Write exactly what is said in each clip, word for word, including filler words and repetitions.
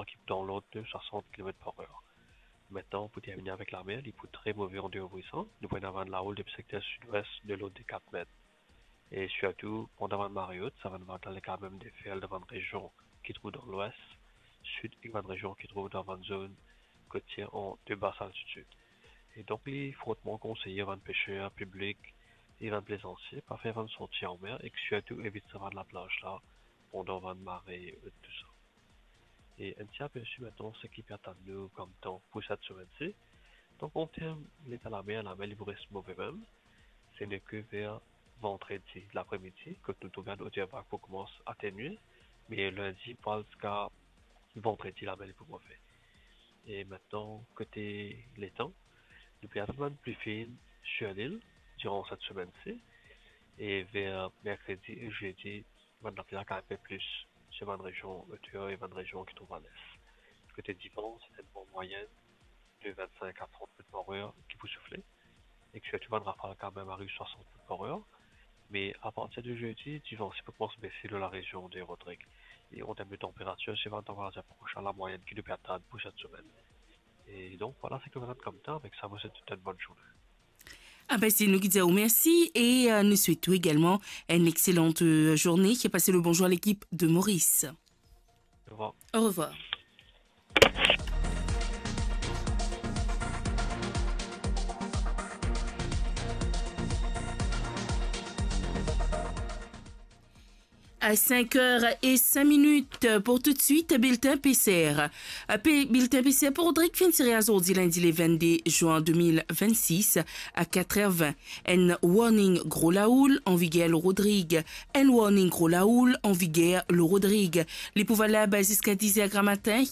ki pou dan lord de swasant kilomet par er. Aster, pou termine avek lamer, li pou tre move an deor Brisant. Nou pou ena bann lahoul depi sekter sidwes de lord de kat met. E sirtou, pandan bann mare ot, sa bann vag la, li kapav mem deferl dan bann rezion ki trouv dan lwes, sid ek bann rezion ki trouv dan bann zone kotier an de bas altitid. E donk, li fortman konseye bann peser, piblik e bann plezansie pa fer bann sorti anmer ek sirtou evit sa bann laplaz la pandan bann mare ot, tousa. E enn ti apersi aster seki pe atann nou kom tan pou set semenn-si. Donk, an term leta lamer, lamer li pou res move mem. Se nek ver vandredi lapremidi kot nou trouv bann oter vag pou koumans atenue, me lindi pou al ziska vandredi, lamer li pou move. E aster, kote letan, nou pe atann bann pli fin sir lil diran set semenn-si, e ver merkredi e zedi, bann lapli la kapav pe plis sir bann rezion oter e bann rezion ki trouv a les. Kote divan, se enn van mwayenn de vinn-sink a trant met par er ki pou soufle, ek sirtou bann rafal kapav mem ariv swasant met par er. Me apartir de zedi, divan si pou koumans bese lor larezion de Rodrig. E an term de tanperatir, se bann tanperatir proch a lamwayenn ki nou pe atann pou set semenn. E donk, vwala seki nou ena kom tan. Avek sa, mo swet zot enn bonn zourne. Ah ben, se nou ki dir ou mersi e, euh, nou swet ou egalman enn exselante, euh, zourne. Pase le bonzour a lekip de Maurice. Au revoir. Au revoir. À cinq heures et cinq minutes pour tout de suite, bilten P C R. Pe-, bilten P C R pou Rodrig finn tire azordi, lindi le vinn-de zin de mil vinn-sis, a kat er vinn. Enn warning gro lahoul an viger lor Rodrig. Enn warning gro lahoul an viger lor Rodrig. Li pou valab ziska diz er gramatin,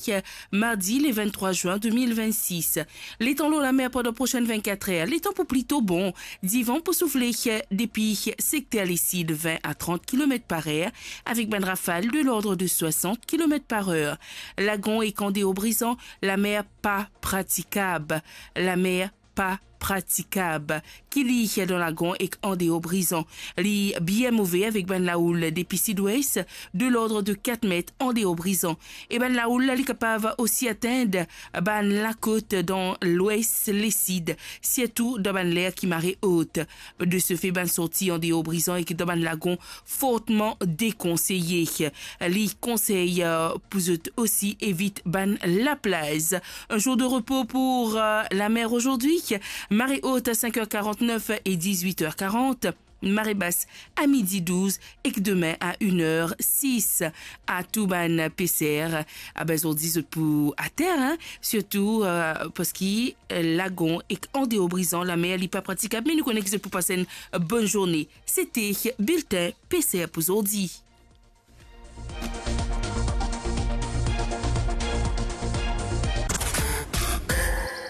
mardi le vinn-trwa zin de mil vinn-sis. Letan lor lamer pandan prosenn vinn-kat er, letan pou plito bon. Divan pou soufle depi sekter lesid vinn a trant kilomet par er, avek bann rafal de lord de swasant kilomet par er. Lagon ek andeor Brizan, lamer pa pratikab. Lamer pa pratikab. Ki li dan lagon ek andeor Brizan, li bien move avek bann lahoul depi sidwes de lord de kat met andeor Brizan. E bann lahoul la, li kapav osi atenn bann lakot dan lwes, lesid, sirtou dan bann ler ki mare ot. De se fe, bann sorti andeor Brizan ek dan bann lagon fortman dekonseye. Li konsey, euh, pou zot osi evit bann laplaz. Un jour de repos pour, euh, la mer aujourd'hui. Marée haute à cinq heures quarante-neuf et dix-huit heures quarante. Marée basse à midi douze ek demin à une heure six. A tou bann P C R, a ben, zordi zot pou ater, hein, sirtou, euh, parski, euh, lagon ek andeor Brizan, lamer li pa pratikab, me nou kone ki zot pou pas enn bonn zourne. Sete bilten P C R pou zordi.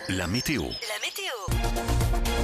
La météo. La météo.